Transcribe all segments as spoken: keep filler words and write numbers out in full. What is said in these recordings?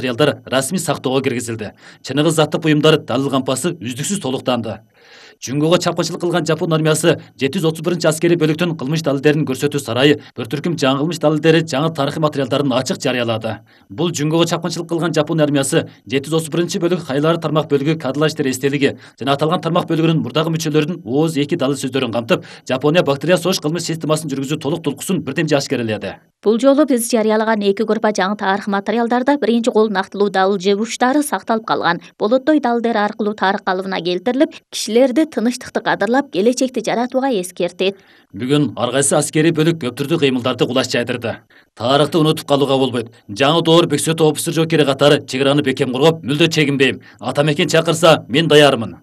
материалдар расмий сактоого киргизилди. Чыныгы заттык буюмдар далил кампасы үздүксүз толуктанды. Жүнгөгө чапкынчылык кылган Жапон армиясы жети жүз отуз биринчи аскерий бөлүктүн кылмыш далилдерин көрсөтүү сарайы бир түркүм жаңы кылмыш далилдери, жаңы тарыхый материалдарын ачык жарыялады. Бул жүнгөгө чапкынчылык кылган Жапон армиясы жети жүз отуз биринчи бөлүк кайлары тармак бөлүгү кадрлар иштери эстелиги жана аталган тармак бөлүгүнүн мурдагы мүчөлөрүнүн ооз эки далил сөздөрүн камтып, Жапония бактерия согуш кылмыш системасын жүргүзүү толук толкусун бирдемже ашкереледи. Бул жолу биз жарыялаган эки группа жаңы тарых материалдарда биринчи кол нактылуу далил жебуштары сакталып калган. Болоттой далилдер аркылуу тарых калыбына келтирилип, кишилерди тынычтыкты кадырлап, келечекти жаратууга эскертет. Бүгүн ар кайсы аскерий бөлүк көп түрдүү кыймылдарды кулаш жайдырды. Тарыхты унутуп калууга болбойт. Жаңы доор бөксөтү офицер жокери катары чек араны бекем коргоп, мүлдө чегинбейм. Ата мекен чакырса, мен даярмын.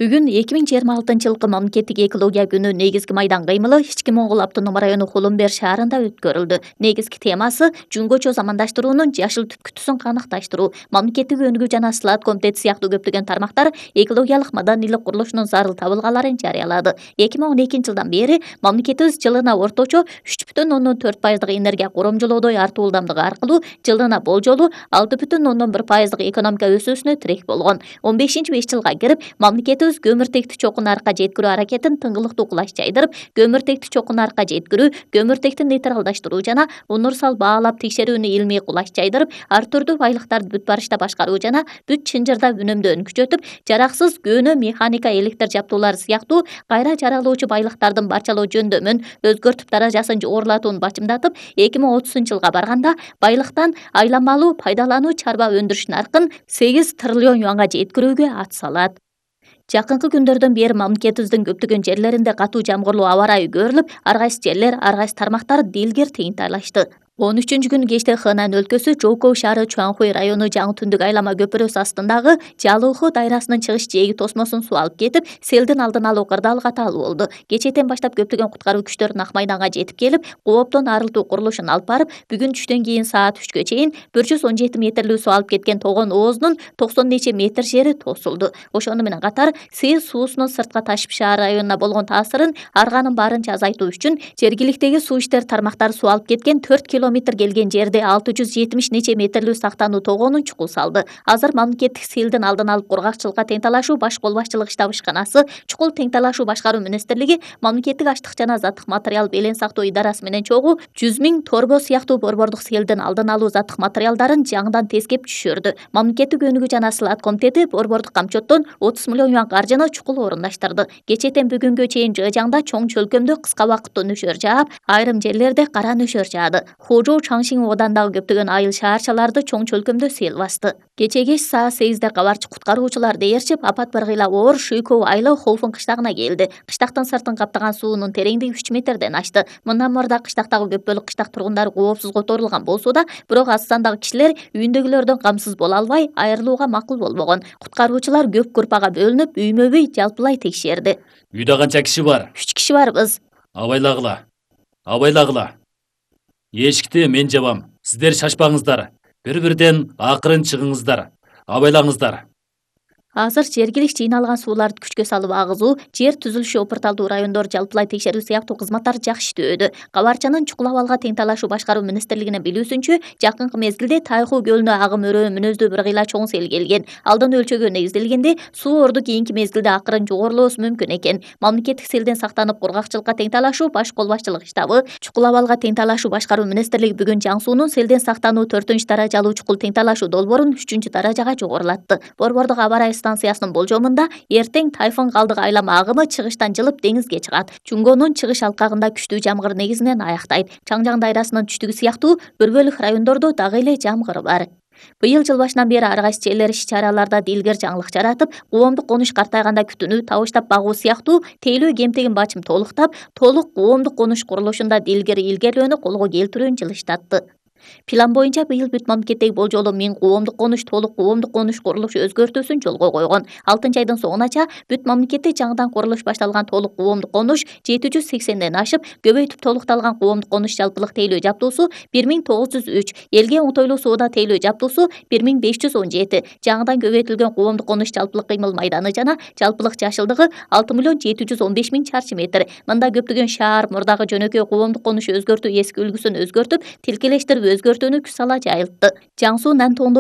Бүгүн эки миң жыйырма алтынчы жылкы мамлекеттик экология күнү негизги майдан кыймылы Ички Моңгол автономдук району Хулумбер шаарында өткөрүлдү. Негизги темасы жөнгөчө замандаштыруунун жашыл түпкүтүсүн каныкташтыруу. Мамлекеттик өнүгүү жана слат комитети сыяктуу көптөгөн тармактар экологиялык маданийлик курулушунун зарыл табылгаларын жарыялады. эки миң он экинчи жылдан бери мамлекетибиз жылына орточо үч бүтүн ондон төрт пайыздык энергия коромжолоодо артуу ылдамдыгы аркылуу жылына болжолу алты бүтүн ондон бир пайыздык экономика өсүүсүнө тирек болгон. он бешинчи беш жылга кирип мамлекет көмүртекти чокун арка жеткирүү аракетин тыңгылыктуу кулаш жайдырып, көмүртекти чокун арка жеткирүү, көмүртекти нейтралдаштыруу жана универсал баалап текшерүүнү илмий кулаш жайдырып, ар түрдүү байлыктарды бүт барышта башкаруу жана бүт чынжырда үнөмдөөнү күчөтүп, жараксыз көөнө механика электр жабдуулары сыяктуу кайра жаралуучу байлыктардын барчалоо жөндөмүн өзгөртүп даражасын жогорулатууну бачымдатып, эки миң отузунчу жылга барганда байлыктан айланмалуу пайдалануу чарба өндүрүш наркын сегиз триллион юанга жеткирүүгө ат салат. Жакынкы күндөрдөн бери мамлекетибиздин көптөгөн жерлеринде катуу жамгырлуу аба ырайы көрүлүп, ар кайсы жерлер, ар кайсы тармактар дилгир тыйынтайлашты. он үчүнчү күнү кечте Хэнань өлкөсү Жоукоу шаары Чуанхуй району жаңы түндүк айлама көпүрөсү астындагы Жалыуху дайрасынын чыгыш жээги тосмосун суу алып кетип, селдин алдын алуу кырдаалы катаалуу болду. Кечээден баштап көптөгөн куткаруу күчтөрү Ак майданга жетип келип, кооптон арылтуу курулушун алып барып, бүгүн түштөн кийин саат үчкө чейин бир жүз он жети метрлүү суу алып кеткен тогон оозунун токсон нече метр жери тосулду. Ошону менен катар Сез суусунун сыртка ташып шаар районуна болгон таасырын арганын барынча азайтуу үчүн жергиликтеги суу иштери тармактары суу алып кеткен төрт километр келген жерде алты жүз жетимиш нече метрлүү сактануу тогоонун чукул салды. Азыр мамлекеттик селдин алдын алып кургакчылыкка тең талашуу баш кол башчылык штаб ишканасы, чукул тең талашуу башкаруу министрлиги, мамлекеттик аштык жана заттык материал белең сактоо идарасы менен чогуу жүз миң торбо сыяктуу борбордук селдин алдын алуу заттык материалдарын жаңыдан тескеп түшүрдү. Мамлекеттик өнүгүү жана слат комитети борбордук камчоттон отуз миллион юан каржыны чукул орундаштырды. Кечээден бүгүнгө чейин Жыжаңда чоң чөлкөмдө кыска убакытта нөшөр жаап, айрым жерлерде кара нөшөр жаады. Хожоу Чаңшин оодандагы көптөгөн айыл шаарчаларды чоң чөлкөмдө сел басты. Кечээ кеч саат сегизде кабарчы куткаруучулар дээрчип, апат быргыйла оор Шүйкөв айылы Холфун кыштагына келди. Кыштактын сыртын каптаган суунун тереңдиги үч метрден ашты. Мындан мурда кыштактагы көп бөлүк кыштак тургундары коопсуз которулган болсо да, бирок аз сандагы кишилер үйүндөгүлөрдөн камсыз боло албай, айрылууга макул болбогон. Куткаруучулар көп группага бөлүнүп, үймө-үй жалпылай текшерди. Үйдө канча киши бар? үч киши барбыз. Абайлагыла. Абайлагыла. Эшикти мен жабам. Сиздер шашпаңыздар. Бири-бирден акырын чыгыңыздар. Абайлаңыздар. Азыр жергилик жыйналган сууларды күчкө салып агызуу, жер түзүлүшү опурталдуу райондор жалпылай текшерүү сыяктуу кызматтар жакшы иштөөдө. Кабарчанын чукул абалга тең талашуу башкаруу министрлигинин билүүсүнчө, жакынкы мезгилде Тайху көлүнө агым өрөө мүнөздүү бир кыйла чоң сел келген. Алдын өлчөгө негизделгенде суу орду кийинки мезгилде акырын жогорулоосу мүмкүн экен. Мамлекеттик селден сактанып кургакчылыкка тең талашуу баш кол башчылык штабы, чукул абалга тең талашуу башкаруу министрлиги бүгүн Жаң суунун селден сактануу төртүнчү даражалуу чукул тең талашуу долбоорун үчүнчү даражага жогорулатты. Борбордук аба ырайы станциясынын болжомунда эртең тайфун калдык айлама агымы чыгыштан жылып деңизге чыгат. Чунгонун чыгыш алкагында күчтүү жамгыр негизинен аяктай. Чаңжаң дайрасынын түштүгү сыяктуу бир бөлүк райондордо дагы эле жамгыр бар. Быйыл жыл башынан бери ар кайсы жерлер иш-чараларда дилгер жаңылык жаратып, коомдук конуш картайганда күтүүнү табыштап багуу сыяктуу тейлөө кемтигин бачым толуктап, толук коомдук конуш курулушунда дилгер илгерлөөнү колго келтирүүнү жылыштатты. План боюнча быйыл бүт мамлекеттеги болжолу миң коомдук конуш толук коомдук конуш курулушу өзгөртүүсүн жолго койгон. алтынчы айдын соңунача бүт мамлекетте жаңыдан курулуш башталган толук коомдук конуш жети жүз сексенден ашып, көбөйтүп толукталган коомдук конуш жалпылык тейлөө жаптуусу бир миң тогуз жүз үч, элге оңтойлуу соода тейлөө жаптуусу бир миң беш жүз он жети, жаңыдан көбөйтүлгөн коомдук конуш жалпылык кыймыл майданы жана жалпылык жашылдыгы алты миллион жети жүз он беш миң чарчы метр. Мында көптөгөн шаар мурдагы жөнөкөй коомдук конуш өзгөртүү эски үлгүсүн өзгөртүп, тилкелештирип өзгөртүүнү күч сала жайылтты. Жаң Суу Нантондо